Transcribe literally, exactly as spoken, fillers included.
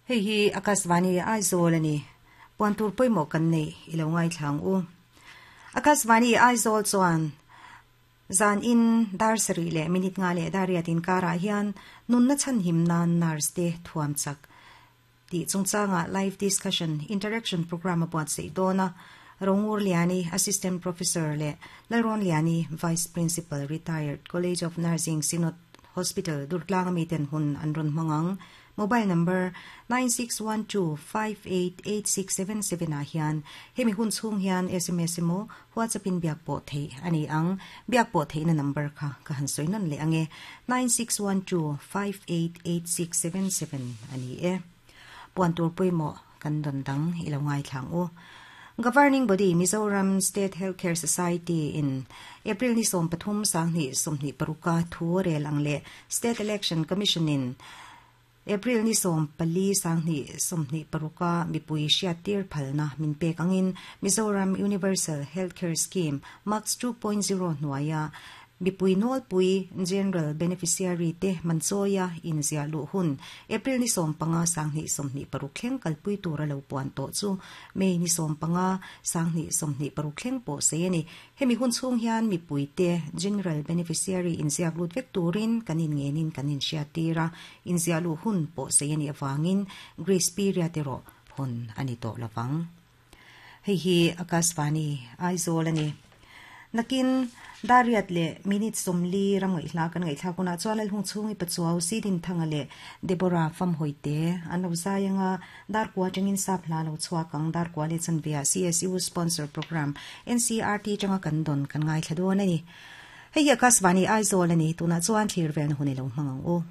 Hei hi Akashvani Aizawl a ni. Puan tur pawimawh kan neih i lo ngaithlang u. Akashvani Aizawl chuan zan in dar sarih leh minute nga leh dar riat inkarah hian nunna chhanhim nan nurse te thuam chak tih chungchanga live discussion interaction program a buatsaih dawn a. Rongur Liani, Assistant Professor leh Lalrawn Liani, Vice Principal Retired, College of Nursing, Synod Hospital, Durtlang ami ten hun an rawn hmang ang. Mobile number nine six one two five eight eight six seven seven ah hian hemi hun chhung hian sms emaw WhatsApp in biak pawh theih a ni ang. Biak pawh theihna number kha ka han sawi nawn leh ang e, nine six one two five eight eight six seven seven a ni e. Puan tur pawimawh kan dawn dang i lo ngaithlang u. Governing Body Mizoram State Healthcare Society in April ni sawm pathum sanghnih sawmhnih paruka thu rel ang leh State Election Commission in April ni sawm pali sanghnih sawmhnih paruka mipui hriattir phalna min pek angin Mizoram Universal Healthcare Scheme Max two point zero hnuaia mipui nawlpui General Beneficiary te manchawia inziah luh hun April ni sawm panga sanghnih sawmhnih paruk thleng kalpui tura lo puan tawh chu May ni sawm panga sanghnih sawmhnih paruk thleng pawh sei a ni. Hemi hun chhung hian mipui te General Beneficiary inziak lut vek turin kan inngenin kan inhriattir a, inziah luh hun pawh sei a nih avangin grace period erawh hawn a ni tawh lovang. Hei hi Akashvani Aizawl a ni. Nakin Dariat leh minute sawmli ram ngaihhla kan ngaihthlak hunah chuan Lalhung chhungi Pachuau, Sidinthanga leh Deborah Famhawite an lo zai anga Darkua atangin sap hla lo chhuak ang Darkua leh chanveah C S U sponsor program N C R T atanga kan dawn kan ngaithla dawn a ni. Hei hi Akashvani Aizawl a ni. Tunah chuan thlir velna hun i lo hmang ang u.